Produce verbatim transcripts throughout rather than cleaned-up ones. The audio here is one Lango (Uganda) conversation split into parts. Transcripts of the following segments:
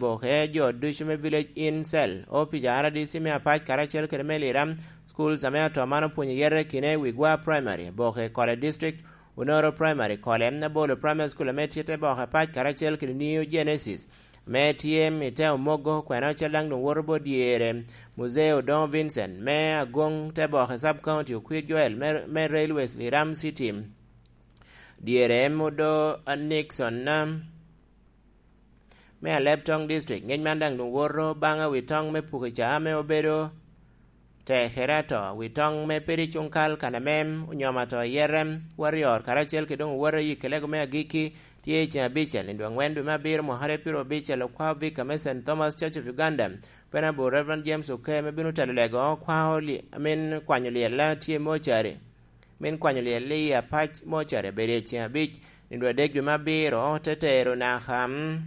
Boke jo ducu me Village Inn Cell, opic a R D C me Apac karacel kede me Liram, schools ame atɔm man opwonyo yete kine Wigwa Primary, Boke College District, Unoro Primary, Kole, Abolo Primary School ame tye te Boke Apac karacel kede New Genesis, ame tye i te Omogo, kwena ocel daŋ doŋ woto bot dyere, Muzee Odongo Vincent, me Agoŋ te Boke Sub County, Okwir Joel, me, me Railways Liram City, dyere Mudo Nixon, me Alebtong District. Ngec man daŋ doŋ woto baŋ wi toŋ me puko ca ame obedo tekere ato, wi toŋ me peri cuŋ kal kan ame onyomo ato yete, Warrior, karacel kede doŋ owoto i kelego me agikki, tye i ceng abicel, nino angwen dwe me abiro mwaka aryo pyero abicel, okwa Vika me Saint Thomas Church of Uganda, Venerable Reverend James Oke, me bino telo lego, okwa oli-, amin kwanyo lyella tye mocari. Min kwanyo lyel i Apac mocari abedo i ceng abic, nino adek dwe me abiro, te tero naka, mm,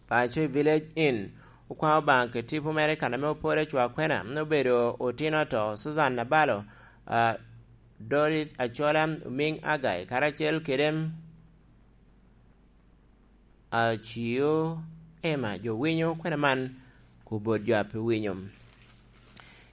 paco i Village Inn. Okwaŋ Obaŋa kede tipo mere kan ame opore cwa kwena, mm, obedo otino ato, Susan Nabalo, ah, Dorith Achola, Omiŋ Agai, karacel kede, mm, Acio Emma, jo winyo kwena man, ku bot jo a pe winyo.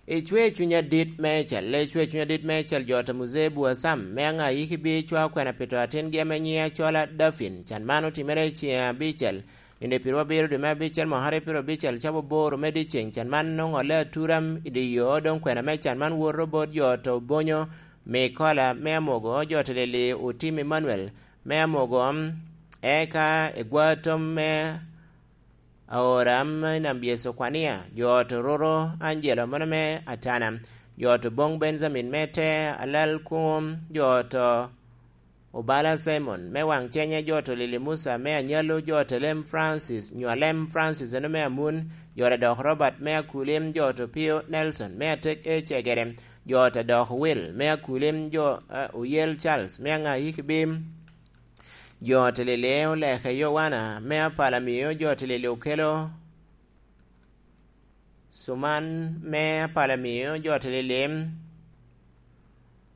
Icwe cuny adit meicel, icwe cuny adit meicel jo ta Muzee Buasam, me aŋa yiki bi cwa kwena pi to atingi ame nyiŋe Acola Dafin. Can man otimere i ceng abicel, nino pyerwo abiro dwe me abicel mwaka aryo pyero abicel cawa aboro me dyeceng. Can man oŋolle atura i dye yo, doŋ kwena me can man woto bot jo ta Obonyo Mikola me Amogo, jo ta Lili Otim Emmanuel me Amogo, eka egwa tom me Aora me Nambyeso Kwania, jo ot Ororo Angelo mano me Atana, jo ot Obong Benjamin me Te Alal Kuŋo, jo ot Obala Simon me Waŋ Cenye, jo ot Lili Musa me Anyalo, jo ot Alem Francis, nyo Alem Francis eno me Amun, jo ot Adok Robert me Akulim, jo ot Opio Nelson me Atek Ecegere, jo ot Adok Will me Akulim, jo, eh, Oyel Charles me Aŋa Yikibim, jo ot Lili Oleke Yowana me Apalamio, jo ot Lili Okelo Cuman me Apalamio, jo ot Lili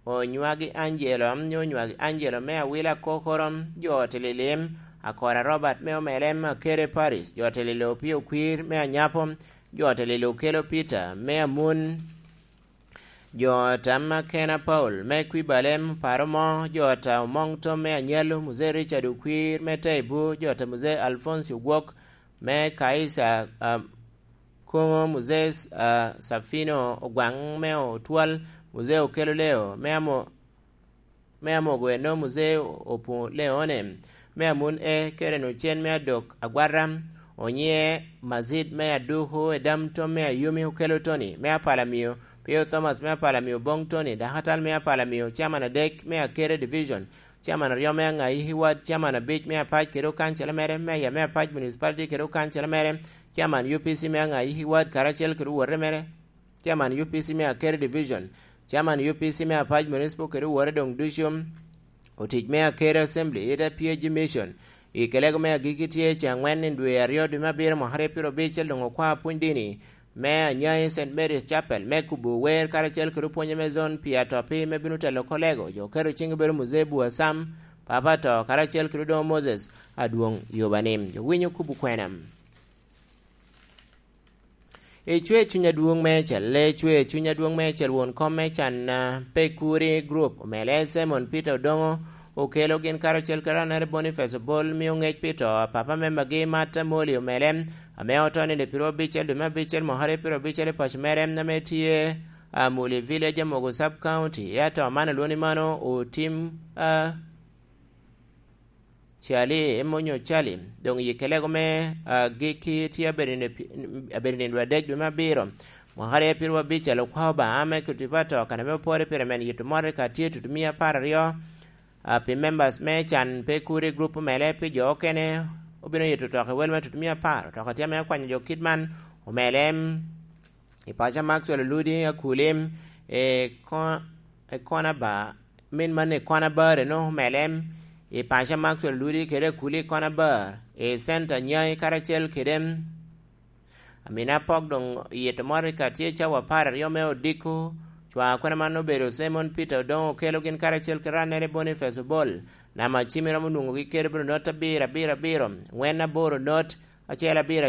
Onywagi Angelo, nyo Onywagi Angelo me Awila Kokoro, jo ot Lili Akora Robert me Omelem Akere Paris, jo ot Lili Opio Kwir me Anyapo, jo ot Lili Okelo Peter me Amun, jo ot Amakena Paul me Kwibalem Paromo, jo ot Omoŋ Tom me Anyalo, Muzee Richard Okwir me Taibu, jo ot Muzee Alfonsi Ogwok me Kaisa, ah, Koŋo, Muzee, ah, Safino Ogwaŋ me Otwal, Muzee Okelo Leo me Amo-, me Amogo eno, Muzee Opu Leone me Amun E, Keren Ocen me Adok Agwata, Onyiŋe Mazid me Aduku, Edam Tom me Ayumi, Okelo Tony me Apalamio, Pio Thomas me Apalamio, Boŋ Tony, Dakatal me Apalamio, Chairman adek me Akere Division, Chairman aryo me Aŋayi Ward, Chairman abic me Apac kede okancela mere, Mayor me Apac Municipality kede okancela mere, Chairman U P C me Aŋayi Ward karacel kede owote mere, Chairman U P C me Akere Division, Chairman U P C me Apac Municipal kede owote doŋ ducu, otic me Akere Assembly, Ida P A G Mission, i kelego me agikki tye i ceng angwen i dwe aryo dwe me abiro mwaka aryo pyero abicel doŋ okwa pwony dini me Anyai Saint Mary's Chapel me kubo wer karacel kede opwonye me zon pi atoppi me bino telo kolego. Jo oketo ciŋ obedo Muzee Bua Sam, Papa To, karacel kede Odoŋo Moses Adwoŋ Yobanim. Jo winyo kubo kwena. Icwe cuny adwoŋ meicel, icwe cuny adwoŋ meicel, won kom me can, ah, Pekuri Group, omele Simon Peter Odoŋo, okelo gin karacel kede Anere Boniface Obol, mio ŋec pi to a papa me magi Martha Moli omele, ame oto nino pyero abicel dwe me abicel mwaka aryo pyero abicel i paco mere, ame tye, ah, Muli Village, Amogo Sub County. Ato man olwoni mano otim, ah, Cali, em onyo Cali, doŋ i kelego me, ah, gikki tye abedo nino pi-, abedo nino adek dwe me abiro. Mwaka aryo pyero abicel okwa Obaŋa me kuto pa to, kan ame opore pire men yito mot i ka tye tutumia apar aryo, ah, pi members me can Pekuri Group omele pi jo okene, obino yito otoka i wel me tutumia apar. Otoka tye ame okwanyo jo kit man, omele, em, i paco Maxwell Oludi Akulim, e ko-, e kona ba, min man e kona bar eno omele, em, i paco Maxwell Oludi kede Akuli kona bar, i center Nyai karacel kede, em, Amina Pok doŋ yito mot i ka tye cawa apar aryo me odiko, cwa kwena man obedo Simon Peter Odoŋo okelo gin karacel kede Anere Boniface Obol, namba cim iromo nwoŋogi kede bino not abiro abiro abiro, ŋwen aboro not, acel abiro